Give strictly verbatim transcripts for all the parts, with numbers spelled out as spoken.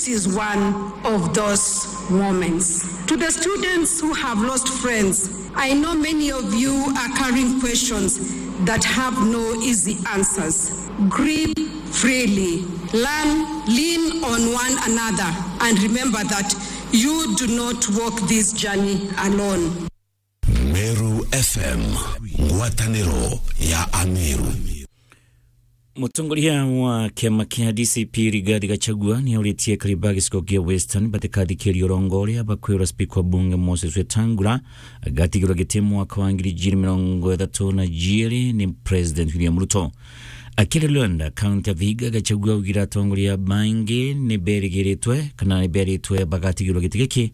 is one of those moments. To the students who have lost friends, I know many of you are carrying questions that have no easy answers. Grieve freely, learn, lean on one another, and remember that you do not walk this journey alone. Meru F M, ngwatanĩro ya Ameru. Mũtongoria wa kĩama kĩa D C P Rigathi Gachagua nĩ aurĩtie akari ba gĩcigo kĩa Western batikathikĩrĩria ũrongo ũrĩa bakwĩrwo Speaker wa Bunge Moses Wetangula agatigĩrwo gĩtĩ mwaka wa ngiri igĩrĩ mĩrongo ĩtatũ na igĩrĩ nĩ President William Ruto. Akĩaria Luanda, kaunti ya Vihiga, Gachagua augire atongoria baingĩ nĩ berĩgĩrĩtwe kana nĩ berĩtwe bagatigĩrwo gĩtĩ gĩkĩ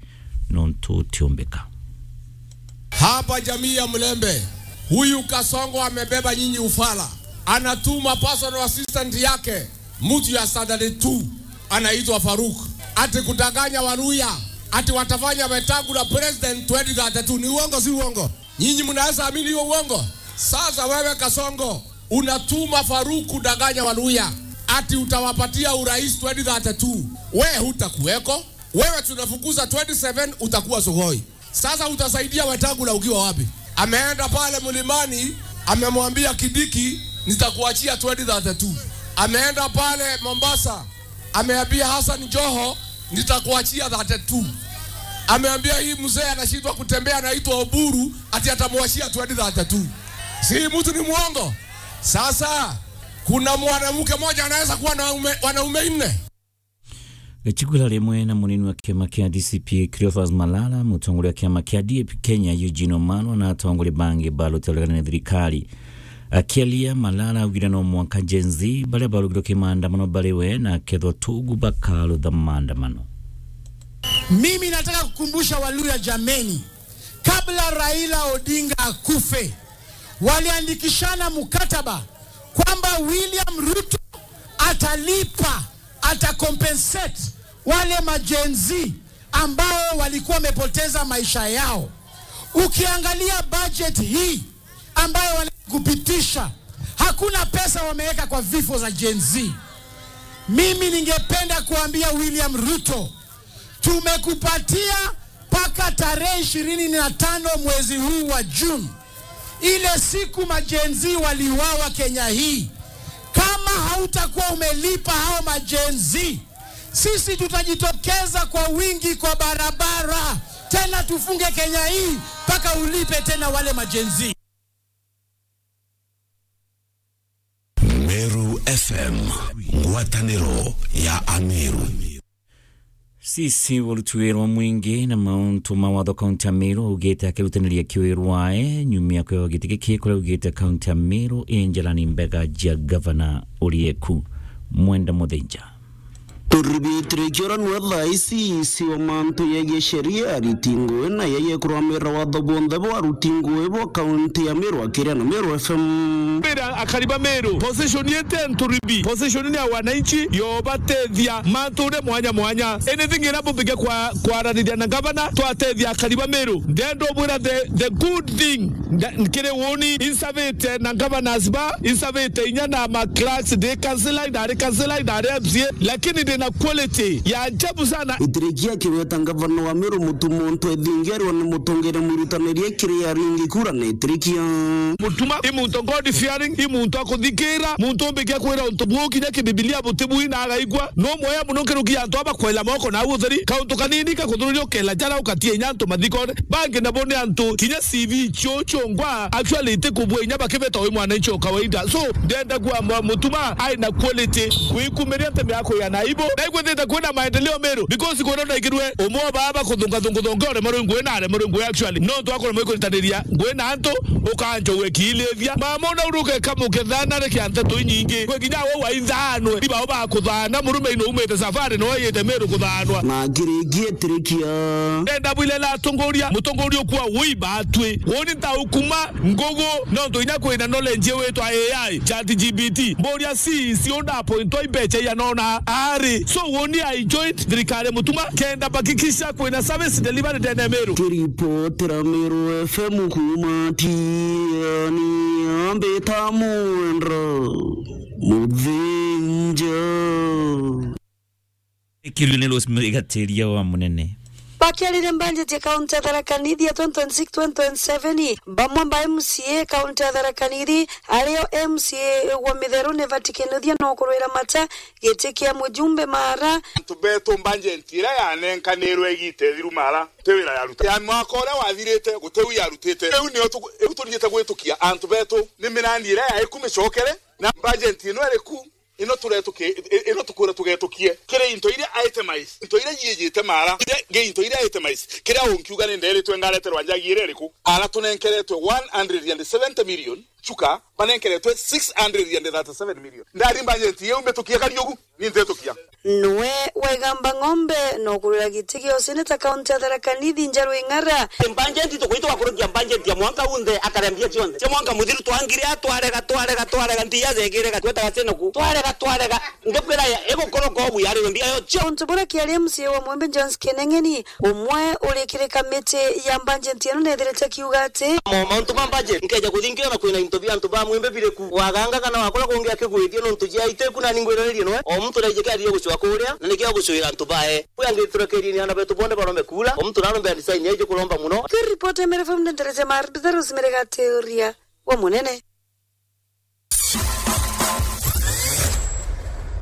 nontu tiumbĩka. Hapa jamii ya Mlembe, huyu Kasongo amebeba nyinyi ufala. Anatuma personal assistant yake, mtu ya standard two, anaitwa Faruk. Ati kudanganya Waluya, ati watafanya Wetangula president twenty thirty-two. Ni uongo, si uongo? Nyinyi mnaweza amini hiyo uongo? Sasa wewe Kasongo, unatuma Faruk kudanganya Waluya, ati utawapatia urais twenty thirty-two. We hutakuweko. Wewe tunafukuza twenty seven, utakuwa Sugoi. Sasa utasaidia Wetangula ukiwa wapi? Ameenda pale mlimani, amemwambia Kidiki, "Nitakuachia twenty thirty-two." Ameenda pale Mombasa, ameambia Hassan Joho, "Nitakuachia thirty-two." Ameambia hii mzee anashindwa kutembea, anaitwa Oburu, ati atamwachia twenty thirty-two. Si mtu ni mwongo? Sasa, kuna mwanamke mmoja anaweza kuwa na ume-, wanaume nne? Gachagua rimwe na munini wa kiama kia D C P, Cleophas Malala, mutongoria wa kiama kia D A P Kenya, Eugene Wamalwa, na atongoria bangi ba rutere ruregana na thirikari. Akiaria, Malala augire no mwanka Gen Z baria barugirwe ki maandamano bari we na akethwa tugu bakarutha maandamano. Mimi nataka kukumbusha Waluya jameni, kabla Raila Odinga akufe, waliandikishana mkataba kwamba William Ruto atalipa, atacompensate wale ma Gen Z ambao walikuwa wamepoteza maisha yao. Ukiangalia budget hii ambayo wanakupitisha, hakuna pesa wameweka kwa vifo za Gen Z. Mimi ningependa kuambia William Ruto, tumekupatia mpaka tarehe ishirini na tano mwezi huu wa June, ile siku ma Gen Z waliuawa Kenya hii. Kama hautakuwa umelipa hao ma Gen Z, sisi tutajitokeza kwa wingi kwa barabara, tena tufunge Kenya hii mpaka ulipe tena wale ma Gen Z. Meru F M, ngwatanĩro ya Ameru. C C wa uruti wira wa mwingi na mauntu ma watho kaunti ya Meru augite akirutaniria kiwirwae nyuma ya kwewa giti giki kuria augite kaunti ya Meru i njarani mbega jia gavana urieku. Mwenda Muthinja. Turibitire kioranu thaa ici, C C wa mantu yegie sheria, ariti ngui na yeye kurwamira watho bonthe bwa aruti ngui bo kaunti ya Meru akiria na Meru F M. Mbira akari ba Meru, position yetu ya Nturibi, position ni ya wananchi, yobatethia mantu ure mwanya mwanya. Anything ira bumbike kwa, kwaraniria na gavana, twatethia akari ba Meru. Ndenda ubwira the, the good thing, nda-, nkiri woni, insavite na governors ba, insavite inya na ma clerks, ndi councillor, ndari councillor, ndari M C A, lakini ndina quality ya ajabu sana. Itirikia kiweta gavana wa Meru Mutuma Ntwethingerwa ni mutongere mwirutanirie kiri aringi kura na itirikia. Mutuma i muntu God fearing, i muntu akuthikira, muntu umbikia kwira untu buu kinya kibibilia butibui na agaigua. No mweya muno nkiruki ya antu aba kwela moko na utheri, kauntu kanini kakuthururia ukela jara ukatia inya antu mathikone. Bangi nabo ni antu kinya C V cio ciongwa actually itikubua inya bakibeta wi mwananchi o kawaida. So, ndenda kuwa mwa-, Mutuma ai na quality, kwikumiria ntemi ya kuya na aibu. Na ikwithite kwina maendeleo Meru, because kwona ndaigirwe umwe wa baba kuthunga thungu thonge ore maru ngui na are maru ngui actually. No twakora mwe kuritaniria ngui na antu, ukanjo wekilithia. Mama una uruke kamuke thana reke ante tu nyingi. Kwe kinya we waithanwe, ni bao ba kuthana, murume ino umite safari no yite Meru kuthanwa. Na kirikie tirikia. Ndenda bwile la atongoria, mutongoria ukua wi batwi. Woni nta ukuma ngugu, nontu inya kwina knowledge witwa A I, Chat G P T. Mburia C C unda appointwa imbecha ianona ari. So woni I joined thirikari Mutuma, kenda bakikisha kwina service delivery ndene Meru. Kiripotera Meru F M kuma Tiani, ambita Mwendra Muthinja. Ikirio ni Rosemary Gatiria wa Munene. Bakiariria mbanjeti ya kaunti ya Tharaka Nithi ya twenty twenty-six twenty twenty-seven, bamwe ba M C A kaunti ya Tharaka Nithi, ario M C A wa Mitheru Nevat Kinuthia no kurwira mata giti kia mujumbe Mara. Antu betu mbanjeti iria yanenkanirwe igita ithiru Mara, ti wira yaruta. Ya mwaka uria wathirite, guti u yarutite. Riu nio tu-, riu turijite gwitukia antu betu ni mirandi iria yaiku micokere, na mbanjeti ino iriku? Ino turetuki-, i-, ino tukwira tugetukie kiri into iria itemais, into iria yiijite Mara, iria, ngi into iria itemais, kiria unkiuga ni nderitwe ngareterwa njagi iria iriku? Ara tunenkeretwe one hundred and seventy million, chuka banenkeretwe six hundred and thirty-seven million. Ndari mbanjeti iu mbitukie kari ugu, ni ntitukia. Nwe waigamba ng'ombe no kurwira giti gia useneta kaunti ya Tharaka Nithi Njaru Ing'ara. Mbanjeti tukwitwa kurukia mbanjeti ya mwanka unthe akarembia cionthe. Cia mwanka muthiru twangire, twarega, twarega, twarega, mbia zegire gatweta gasenoku. Twarega, twarega. Ngekwira ya, igukoroka ubu yari we mbia yo cio. Untu buria kiari M C A wa Mwembe Jones Kineng'eni, umwe uri kiri kamiti ya mbanjeti ino nethirite kiuga ati, mo-, mauntu ma mbanjeti, nkeja kuthingira na kwina into bia antu ba Mwembe biri ku. Waganga kana wakora kungi akigwithia nontu jia iteku na ningwiranirie noe. O muntu naije kiathire gucua kuria, na nikio agucuira antu bae. Kwi angi turekerie ni ana betu bonde barombe kura, o muntu narombe design yaije kuromba muno. Kiripoti ya Meru F M ndendereje Martha Rosemary Gatiria wa Munene.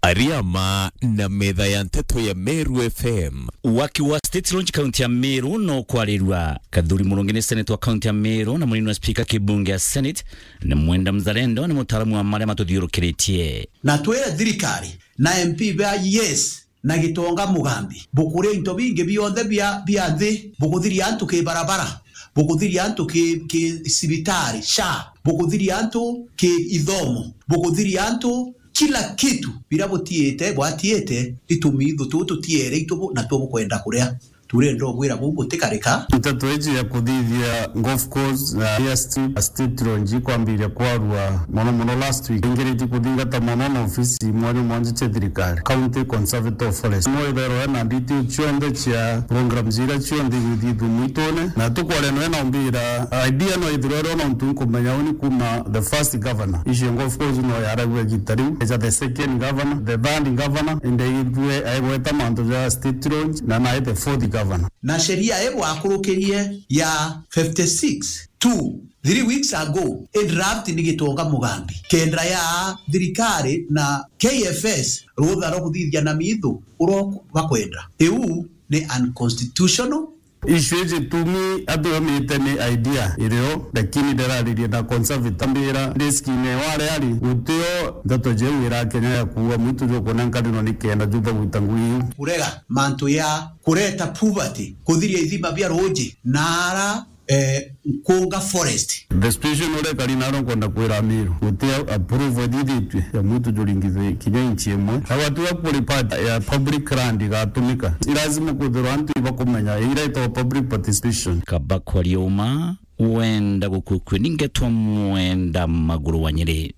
Ariama na metha ya nteto ya Meru F M. Waki wa State Launch kaunti ya Meru no kwarirua. Kathuri Murungi ni seneta wa kaunti ya Meru na munini wa spika kibunge ya Senate, na Mwenda Mzalendo ni mutaaramu wa maria matuthiurukiritie. Na twire thirikari na M P ba yes, na Gitonga Mugambi, bukuria into bingi bionthe bia, bia nthi, bukuthiria antu ki barabara, bukuthiria antu ki, ki cibitari, SHA, bukuthiria antu ki ithomo, bukuthiria antu kila kitu, biria butiite, bwatiite, ni tumithu tuu tutiere itu bu, na tuo bukwenda kuria. Turenda ugwira buu butikarika. Nteto iji ya kuthithia golf course na airstrip, State Launch ikwambiria kwarua mono mono last week. Ingiritie kuthingata mono na ofisi mwanya mwanya cia thirikari, County Conservator of Forest. Mwe itherwe na detail cionthe cia programs iria cionthe igwithithua mwitune, na tukwaria nwe na umbira idea no ithirwe ro nontu nkumenya uni kuma the first governor. Icio golf course no yaragua igita riu. Eja the second governor, the third governor, indi ithwe aigweta mantu ja State Launch, na nae the fourth governor. Na sheria ii bwakurukirie ya fifty-six two, three weeks ago, i draft ni Gitonga Mugambi, kenda ya thirikari na K F S rutha rwa kuthithia na mithu uria bakwenda. Iu ni unconstitutional. Issue iji tumi atuumite ni idea irio, lakini ndiraririe na conservator mbira riskine ware ari gutio ndeto jeu irakenya ya kuua mwitu jukunenkanirwa ni kenda jutha gwita ngugi iu. Kurega mantu ya kureta poverty, kuthiria ithima bia ruuji na ara, eh, Nkunga Forest. The situation uria ikari naro nkwenda kwira Amiru, guti approval ithithitue ya mwitu juringithwe kinya inchi imwe. Na gwatiga kuri part ya public land igatumika. Ni lazima kwithirwa antu ibakumenya iria itagwa public participation. Kaba kwaria uma, wenda gukukwia ni ngetwa Mwenda Maguru wa Nyeri.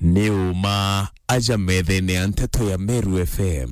Ni uma aja methene ya nteto ya Meru F M.